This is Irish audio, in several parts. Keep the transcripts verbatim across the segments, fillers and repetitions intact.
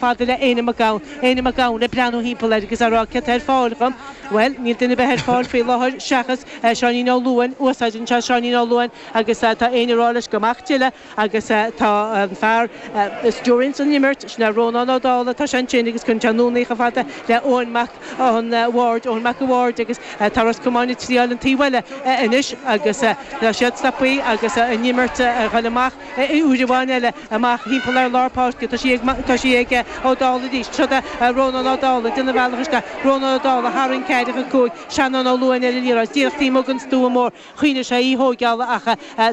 Fada le Éanna Mac Gabhann, Éanna Mac Gabhann ag breathnú thimpeall air agus á rá cé tá ar fáil dhom. Bhuel, níl duine ar bith ar fáil faoi láthair seachas Seáinín Ó Luain, úsáideann sé Seáinín Ó Luain agus tá Éanna ag rá leis go mbeadh tuilleadh agus tá an fear a stiúraíonns an imirt, sin é Rónán Ó Dálaigh, tá sé ansin agus cuireann sé anonn í chomh fada le Eoin Mac an Bhaird, Eoin Mac an Bhaird agus tá Ros Comáin ag triáil an taobh eile anois agus tá siad stoptha agus an imirt a dhul amach uair amháin eile amach thimpeall ar lár páirce. Tá sí ag tá sí ag Ó Dálaigh arís. Seo é Rónán Ó Dálaigh ag déanamh a bhealach isteach. Rónán Ó Dálaigh thar an ceathracha cúig. Seanán Ó Luain ar an liathróid. Díreach taobh amuigh den stua mór. Choinnigh sé í thóigeála ach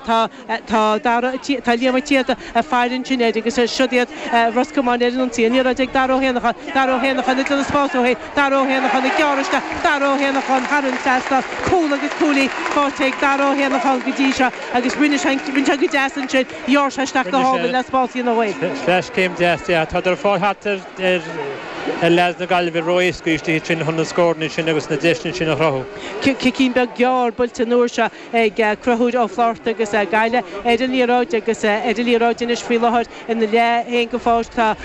tá tá Dara tá Liam Ó Téada ag faire ansin air agus siod iad Ros Comáin ar an ionsaí. An liathróid ag Dara Ó hÉanacháin. Dara Ó hÉanacháin ag déanamh spás dó féin. Dara Ó hÉanacháin ag gearradh isteach. Dara Ó hÉanacháin thar an trasnán. Cúl agus cúilín faighte ag Dara Ó hÉanacháin go dtí seo agus rinne sé rinne sé go deas ansin. Ghearr sé isteach go hálainn le spás a dhéanamh dó féin. Sleaschéim deas, yeah. Tá ar fáil thart ar ar ar leaids na Gaillimhe ró-éasca istigh sin chun na scóranna sin agus na deiseanna sin a chruthú. Cicín beag gearr buailte an uair seo ag Conchúr Ó Flátharta agus Gaillimh ar an liathróid agus ar an liathróid anois faoi láthair ina leath féin den pháirc tá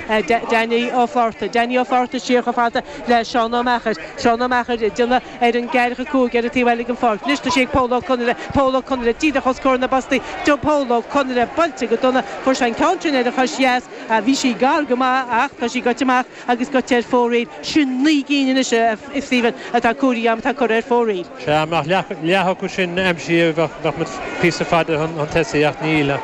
Danny Ó Flátharta. Danny Ó Flátharta siar chomh fada le Seán Ó Meachair. Seán Ó Meachair ag déanamh ar an gceathracha cúig ar an taobh eile den pháirc. Anois tá sé ag Pól Ó Conaire. Pól Ó Conaire díreach os comhair na bpostaí. Do Pól Ó Conaire buailte go dona. Fuair sé an ceann sin ar a chois dheas. Bhí sí gar go maith ach tá sí gaibhte amach agus gaibhte ar fóraoil. Sin naoi gcinn anois a Stephen atá cúirí am atá curtha ar fóraoil. Sea, mbeadh leath acu sin aimsithe bheadh muid píosa fada chun tosaigh ach níl.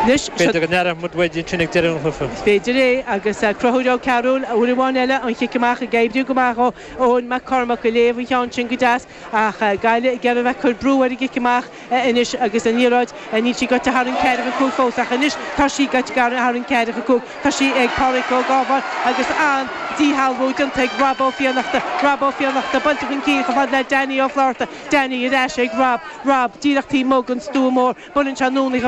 Anois B'fhéidir go n-aireoidh muid uaidh ansin ag deireadh an chluiche. Is féidir é agus Conchúr Ó Cearúil uair amháin eile an chic amach ag oibriú go maith ó Eoin Mac Cormac ag léamh an cheann sin go deas ach Gaillimh ag iarraidh bheith ag cur brú ar an gcic amach anois agus an liathróid níl sí gaibhte thar an ceathracha cúig fós ach anois tá sí gaibhte thar an ceathracha cúig tá sí ag Pádraig Ó Gábháin agus an díshealbhú déanta ag Rob Ó Fiannachta Rob Ó Fiannachta buailte chun cinn chomh fada le Danny Ó Flátharta Danny ar ais ag Rob Rob díreach taobh amuigh den stua mór buaileann sé anonn í